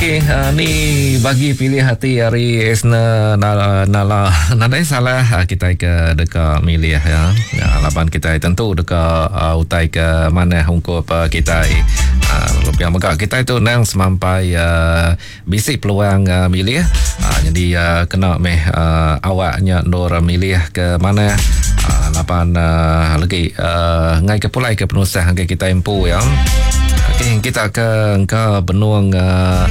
Okey, ni bagi pilih ati ari Esner Nala, Nala. Nadai salah kitai ke deka milih ya. Laban kitai tentu deka utai ke manah ungkup kitai. Lalu pia mega kitai tu nang semampai bisi peluang milih. Nyadi kena meh awak nya endur milih ke manah laban legi ngai ke pulai ke penusah ngagai kitai empu ya. Okey, kita ke engka benung uh,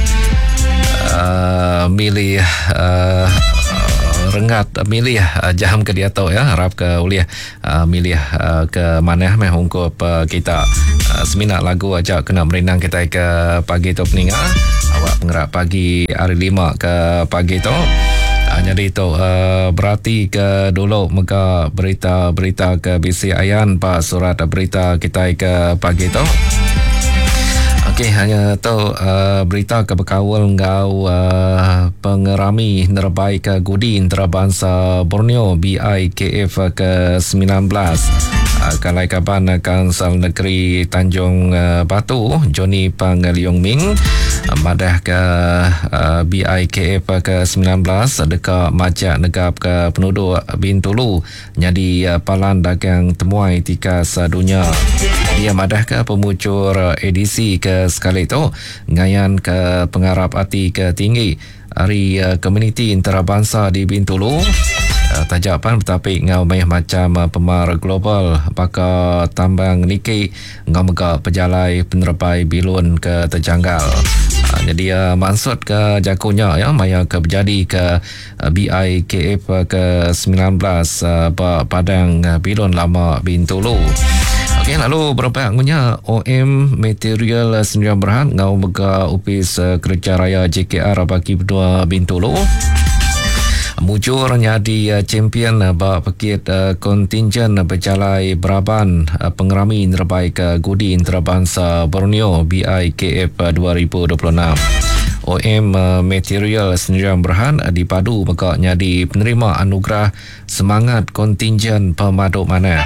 uh, milih uh, rengat milih uh, jam ke diatu ya harap ke ulih uh, milih uh, ke manah meh ungkup uh, kita uh, semina lagu aja kena merindang kita ke pagi tu peninga awak pengerak pagi hari lima ke pagi tu uh, jadi tu uh, berarti ke dulu mega berita-berita ke bisi ayan ba surat berita kita ke pagi tu. Okey, hanya tu uh, berita ke bekaul enggau uh, pengerami nerebai ke Gudi Antarabangsa Borneo BIKF ke 19. Uh, kalai kaban Kansal Negeri Tanjung uh, Batu Johnny Pang Leong Ming uh, madah ke uh, BIKF ke 19 deka majak negap ke penduduk Bintulu nyadi palan dagang temuai tikas dunya. Dia madahka pemuchur edisi ke sekali tu ngayanka pengarap ati ke tinggi ari komuniti entarabansa di Bintulu taja pan betapi enggau mayuh macham pemar global baka tambang niki enggau mega pejalai penerebai bilun ke tejanggal. Nyadi iya mansutka jaku nya iya maya ke bejadika BIKF ke 19 ba Padang Bilun Lama Bintulu. Okey lalu berebak ngunya OM Material Sendirian Berhad enggau mega Opis Kereja Raya JKR bagi menua Bintulu mujur nyadi champion ba pekit kontingen bejalai beraban pengerami nerebai ke Gudi Antarabangsa Borneo BIKF 2026. OM Material Sendirian Berhad dipadu mega nyadi penerima anugerah Semangat Kontingen Pemadu Manah.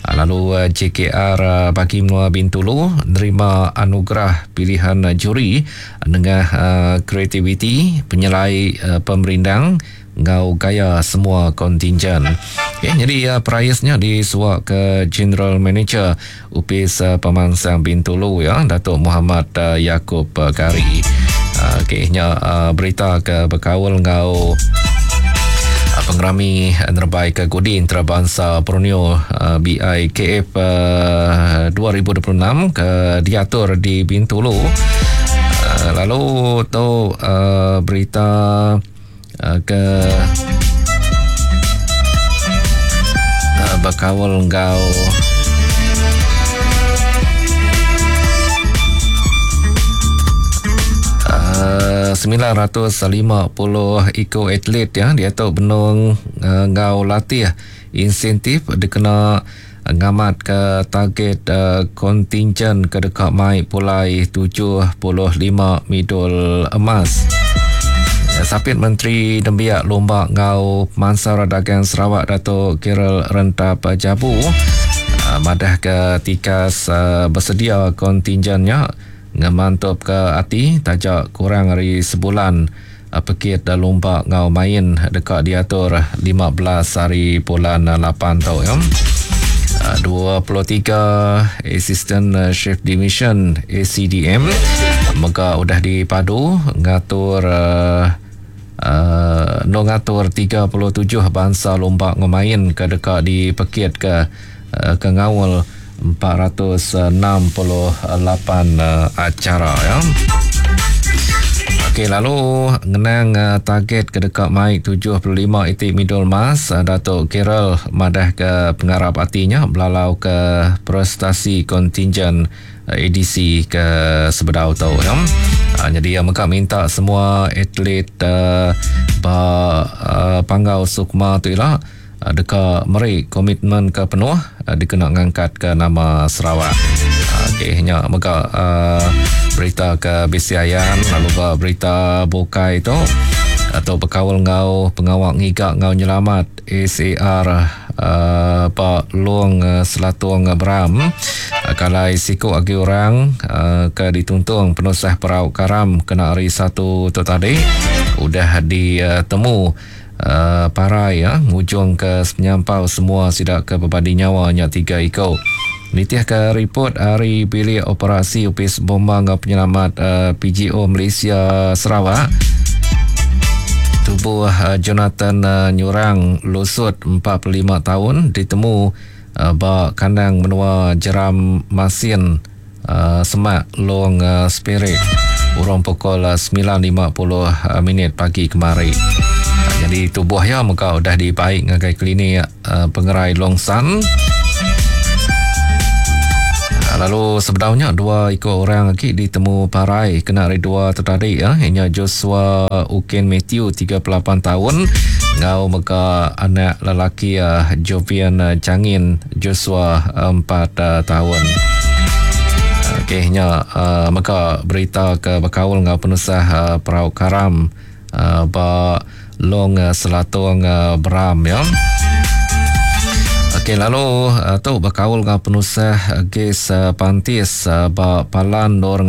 Lalu JKR bagi menua Bintulu nerima anugerah pilihan juri nengah kreativiti penyelai pemerindang enggau gaya semua kontingen. Okay, nyadi perais nya disuak ke General Manager Opis Pemansang Bintulu ya Datuk Muhammad Yakub Kari. Okey nya berita ke bekaul enggau pengerami nerebai ke Gudi Antarabangsa Borneo BIKF 2026 ke diatur di Bintulu. Lalu tu berita ke bekaul enggau uh, 950 iku atlet ya diatu benung uh, enggau latih insentif dikena ngamatka target uh, kontingen ke deka mai pulai 75 midul emas. Sapit Menteri Nembiak Lumba enggau Pemansang Dagang Sarawak Datuk Gerald Rentap Jabu uh, madah ke tikas uh, bersedia kontingen nya ngemantupka ati taja kurang ari sebulan Pekit lumba enggau main deka diatur 15 hari bulan 8 tu. 23 Assistant Chef Division ACDM mega udah dipadu ngatur uh, no ngatur 37 bansa lumba enggau main ke deka dipekit ke uh, ke ngaul 468 acara ya. Okey lalu ngenang uh, target ke deka mai 75 iti midul emas uh, Datuk Gerald madah ke pengarap atinya belalau ke prestasi kontingen uh, edisi ke sebedau tu ya. Uh, jadi ia mega minta semua atlet uh, ba uh, Panggau Sukma tu ila deka meri komitmen ke penuh dikena ngangkatka nama Sarawak. Okey nya mega berita ke bisi ayan lalu ba berita bukai tu atau bekaul enggau pengawa ngiga enggau nyelamat SAR. uh, ba Long uh, Selatung Beram uh, kalai siku agi orang uh, ke dituntung penusah perau karam kena hari satu tu tadi udah ditemu uh, parai ya ngujung ke penyampau semua sida ke bebadi nyawa nya tiga iko. Nitih ke ripot ari Bilik Operasi Opis Bomba enggau Penyelamat uh, PGO Malaysia Sarawak, tubuh uh, Jonathan uh, Nyurang Lusut 45 tahun ditemu uh, ba kandang menua Jeram Masin uh, semak Long uh, Spirit urung pukul 9.50 uh, minit pagi kemari. Uh, jadi tubuh ya mega udah dibaik ngagai klinik uh, pengerai Long San. Lalu sebenarnya dua ikut orang lagi ditemu parai kena hari dua tu tadi ya. Inya Joshua Ukin Matthew 38 tahun ngau mega anak lelaki uh, Jovian Changin Joshua 4 uh, tahun. Okey nya uh, mega berita ke bekaul ngau penusah uh, perau karam uh, ba Long uh, Selatung uh, Beram ya. Okey lalu uh, tu bekaul ngau penusah gas uh, pantis uh, ba Palan Nor.